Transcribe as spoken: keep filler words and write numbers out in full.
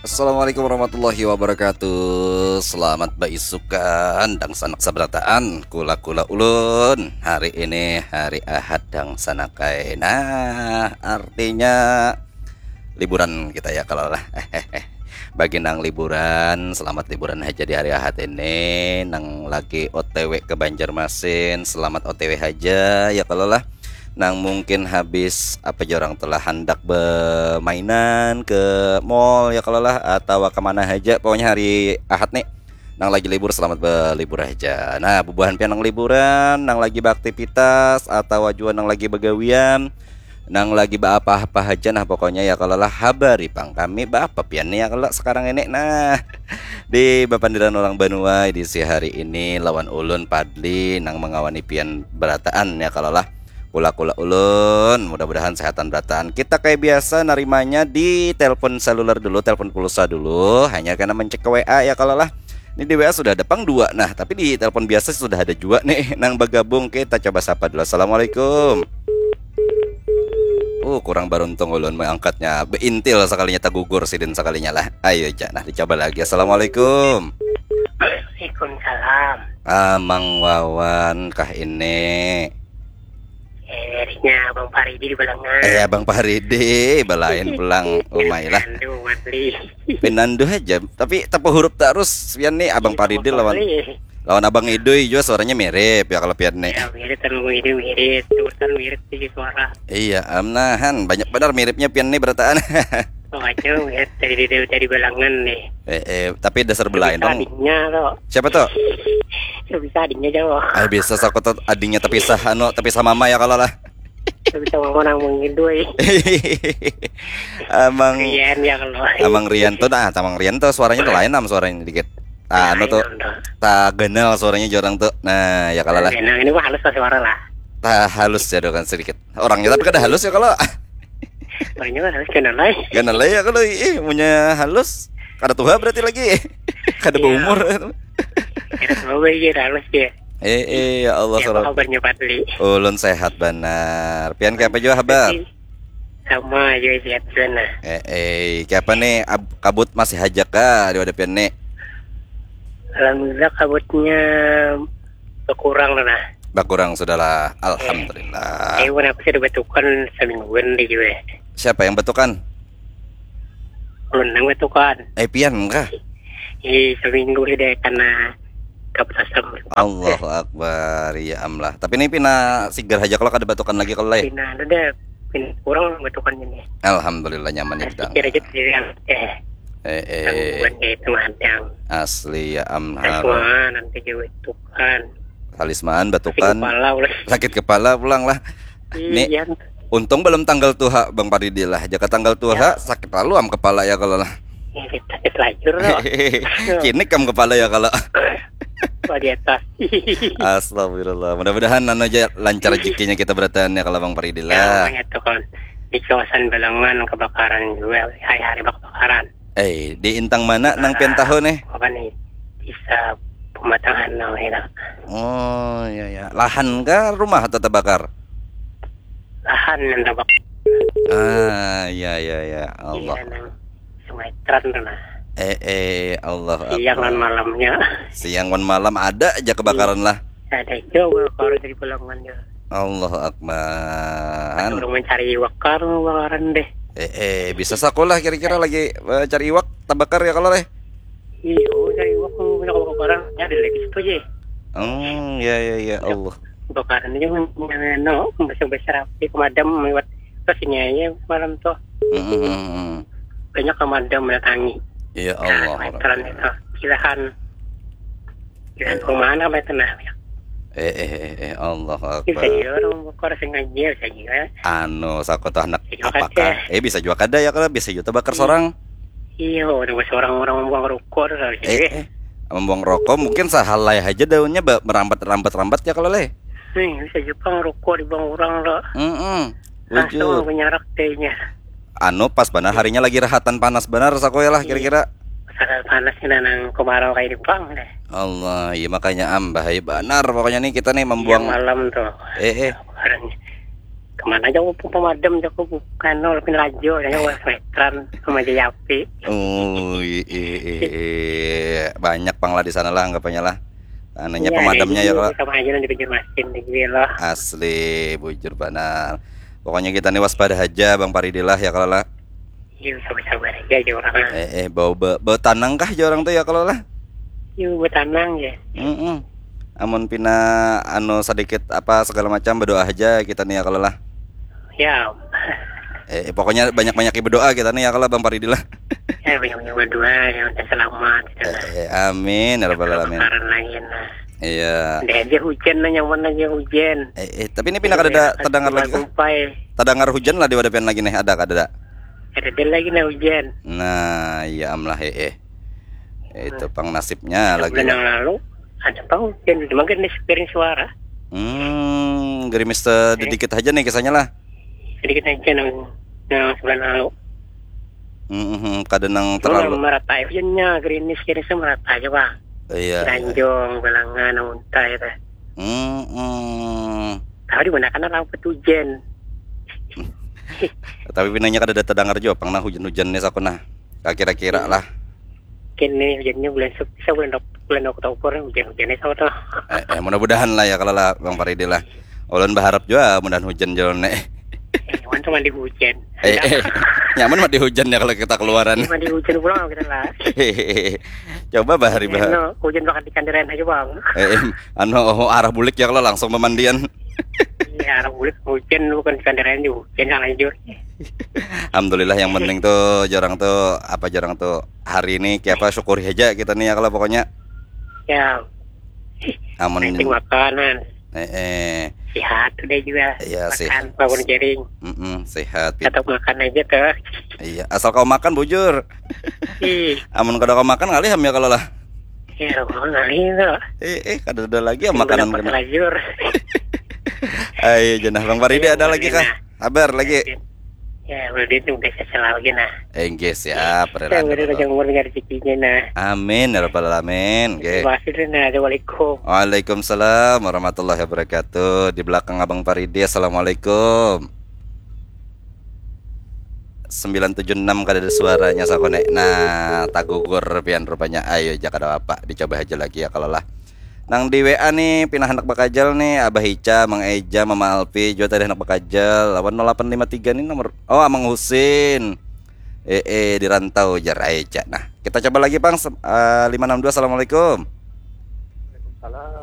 Assalamualaikum warahmatullahi wabarakatuh. Selamat baisukan dangsanak sabarataan, kula-kula ulun. Hari ini hari Ahad dangsanakai. Nah, artinya liburan kita ya kalau lah. Bagi nang liburan, selamat liburan haja di hari Ahad ini. Nang lagi O T W ke Banjarmasin, selamat O T W haja ya kalau lah. Nang mungkin habis apa jorang telah handak bermainan ke mall ya kalau lah, atau kemana haja, pokoknya hari Ahad nih. Nang lagi libur, selamat berlibur aja. Nah, bubuhan pian nang liburan, nang lagi beraktivitas, atau jua nang lagi begawian, nang lagi beapa-apa aja, nah pokoknya ya kalau lah, habari pang kami beapa pian nih ya kalau sekarang ini. Nah, di Bapandiran Orang Banua edisi hari ini lawan ulun Padli nang mengawani pian berataan ya kalau lah. Kula-kula ulun, mudah-mudahan sehatan berataan. Kita kayak biasa narimanya di telepon seluler dulu, telepon pulsa dulu, hanya karena mencek ke W A ya kalau lah. Ini di W A sudah ada pang dua, nah tapi di telepon biasa sudah ada juga nih nang bergabung. Kita coba sapa dulu. Assalamualaikum. Uh, kurang beruntung ulun mengangkatnya. Beintil sekalinya, tagugur sidin sekalinya lah. Ayo aja, nah dicoba lagi. Assalamualaikum. Waalaikumsalam. Amang Wawan kah ini? Eh, nya Abang Paridi di Balangan. Eh, Abang Paridi, balain pulang umai lah. Aduh, Wadli. Pinandu aja, tapi tapa huruf terus pian nih. Abang Paridi lawan lawan Abang Idui juga suaranya mirip ya kalau pian nih. Ya, mirip kan, Abang Idui mirip, terus kan mirip sih suara. Iya, amnahan banyak benar miripnya pian nih berataan. Oh, aja mirip dari dari, dari Balangan nih. Eh, eh, tapi dasar belain dong. Adiknya tuh. Siapa tuh? Ya, bisa adiknya jauh. Ah, bisa, aku tuh adiknya tapi sah anu, tapi sah mama ya kalau lah. Ya, bisa mama nang mengidui. Amang Rian ya kalau. Amang Rian tuh, nah, Amang Rian tuh suaranya tuh lain am suaranya dikit. Ah, anu tuh, tak ganal suaranya jorang tuh. Nah, ya kalau lah. Nah, ini mah halus lah suara lah. Tak halus ya kan sedikit. Orangnya tapi kada halus ya kalau. Orangnya mah halus, ganal lah. Ganal lah ya kalau, ih, punya halus. Kada tua berarti lagi. Kada Iya. Berumur. Kira semua baik ya, halus ya. Eh, eh, ya Allah, Ya, apa sorot. Kabarnya Padli? Ulun sehat benar. Pian kayak apa juga, habar? Sama aja, sehat sana. Eh, eh, kayak apa nih, ab- kabut masih hajak kah di wadah pian nih? Alhamdulillah, kabutnya berkurang lah, nah. Bakurang sudahlah, alhamdulillah. Eh, kenapa sih dibatukan semingguan deh juga? Siapa yang batukan? Ulun nang batukan. Eh, pian kah? Eh, seminggu sih deh karena kabut asam. Allahu Akbar, ya amlah. Tapi ini pina sigar aja kalau kada batukan lagi kalau lah. Pina ada deh, pina kurang batukannya nih. Alhamdulillah nyaman nih dang. Kira aja sih yang eh Eh, eh, gangguan kayak itu madang. Asli ya Terus amlah. Mana nanti juga batukan. Talisman, Sakit batukan, kepala ulah. Sakit kepala pulang lah. Nih, Iya. Untung belum tanggal tuha, Bang Paridi lah. Jaka tanggal tuha, sakit lalu am kepala ya kalau lah. Ya, kita sakit lajur loh. Kini kam kepala ya kalau. Wah, di atas. Astagfirullah. Mudah-mudahan anu aja lancar rezekinya kita berataan ya kalau Bang Paridi Ya, lah. Namanya tuh kan di kawasan Balangan kebakaran juga, hari-hari kebakaran. Eh, di intang mana nang pian tahu nih? Apa nih? Bisa pematangan nang enak. Oh, iya ya. Lahan kah rumah atau terbakar? Lahan yang terbakar. Ah, iya iya iya. Allah. Iya, nang Sungai Tran tuh, nah. Eh, eh, Allah Siang dan Akbar. Malamnya. Siang wan malam ada aja kebakaran lah. Ada juga kalau dari Balangan ya. Allahu Akbar. Orang mencari iwak kar kebakaran deh. Eh, eh, bisa sakulah kira-kira lagi eh, cari iwak terbakar ya kalau leh. Iya, mencari iwak punya kebakaran ada lagi situ aja. Hmm, ya ya ya Allah. Kebakaran aja men- men- no, besar besar api pemadam lewat terus ini aja malam tuh Hmm, hmm, hmm, hmm. Banyak pemadam mendatangi. Ya Allah. Veteran itu. Silahan. Silahan perumahan apa itu nah? Eh eh eh eh Allah Bisa Akbar. juga orang bukor sengaja bisa juga. Anu, saku tuh anak Bisa juga apakah? Eh, bisa juga kada ya kalau bisa juga terbakar seorang. Iya, orang orang orang buang rokok tuh harus Eh, juga. eh. Membuang rokok mungkin sahalai aja daunnya ba- merambat-rambat-rambat ya kalau leh. Nih, bisa juga rokok dibuang orang loh. Mm-mm. Langsung Wujud. Menyarak tehnya. Anu pas benar harinya lagi rahatan panas benar saku ya lah kira-kira. Sangat panas ini nang kemarau kayak di Jepang deh. Allah, iya makanya am bahaya benar pokoknya nih kita nih Iya, membuang. Malam tuh. Eh eh. Kebakaran. Kemana aja aku pemadam, aku bukan, oh, lebih laju, saya was veteran sama aja api. Oh, i- i- i- i- banyak pang lah di sana lah anggapannya lah. Ananya Iya, pemadamnya ada ya juga kalau sama aja di pinggir masjid di sini loh. Asli, bujur banar. Pokoknya kita nih waspada aja Bang Paridi lah ya kalau lah. Iya, sabar-sabar aja aja orang. Eh, eh, bau be, bau tanang kah je orang tuh ya kalau lah? Iya, buat tanang ya. Mm-mm. Amun pina anu sedikit apa segala macam berdoa aja kita nih ya kalau lah. Ya, Eh, eh, pokoknya banyak-banyak berdoa kita nih ya kalau Bang Paridi lah. Ya, banyak-banyak berdoa ya, udah selamat gitu. Eh, eh, amin ya rabbal alamin. Karena lain nah. Iya. Ada aja hujan nah, nyaman aja hujan. Eh, eh, tapi ini pina kada ada terdengar lagi kah? Kumpai. Terdengar hujan lah di wadapian lagi nih, ada kada? Ada dia lagi nah hujan. Nah, iya am lah eh. Eh. Itu pang nasibnya lagi Bulan lah. Yang lalu ada pang hujan, cuma kan ini sepiring suara. Hmm, gerimis sedikit aja nih kisahnya lah. Sedikit aja nang nang sebulan lalu. Hmm, hmm, kada nang Cuma terlalu. Merata hujannya, gerimis gerimis merata aja bang. Iya. Tanjung, Belangan, Unta itu. Hmm, hmm. Tahu di mana kan lampu hujan. Tapi pinanya kada ada terdengar juga pang nah hujan-hujan nih saku nah. Kira-kira lah. Kini hujannya bulan Sep, bisa bulan Oktober, bulan Oktober hujan-hujannya sama tuh. Eh, eh, mudah-mudahan lah ya kalau lah Bang Paridi lah. Ulun berharap juga mudahan hujan jalan nih. Eh, cuman tuh mandi hujan. Eh, eh, nyaman mandi hujan ya kalau kita keluaran. Mandi hujan pulang kita lah. Coba bahari bahari. Eno, hujan bakal di kandiran aja bang. Eh, eh, anu oh, arah bulik ya kalau langsung pemandian. Iya, arah bulik hujan bukan di kandiran juga hujan yang lanjut. Alhamdulillah yang penting tuh jorang tuh apa jorang tuh hari ini kayak apa syukuri aja kita nih ya kalau pokoknya Ya, amun penting makanan. Eh, eh. Sehat udah juga. Iya, Makan sehat. Bangun jaring. Mm-mm, sehat. Pit. Tetap makan aja tuh. Iya, asal kau makan bujur. Ih, Amun kada kau makan ngalih ham ya kalau lah. Ya, bangun kali itu. Eh, eh, kada ada lagi ya makanan kena. Lajur. Ayo jenah Bang Paridi ada lagi kah? Kabar lagi. Ya, udah itu udah selalu lagi nah. Enggih siap. Yang udah jangan umur dengan rezekinya nah. Amin ya rabbal alamin. Oke. Terima kasih nah. Assalamualaikum. Waalaikumsalam warahmatullahi wabarakatuh. Di belakang Abang Paridi, assalamualaikum. Sembilan tujuh enam kada ada suaranya sakone. Nah, tagugur pian rupanya. Ayo aja kada apa, dicoba aja lagi ya kalau lah. Nang di W A nih pina handak bakajal nih, Abah Ica, Mang Eja, Mama Alpi juga tadi handak bakajal. Lawan nol delapan lima tiga nih nomor. Oh, Amang Husin. Eh, eh, di rantau jar Eja. Nah, kita coba lagi Pang. Sem- eh, lima enam dua, assalamualaikum. Salam.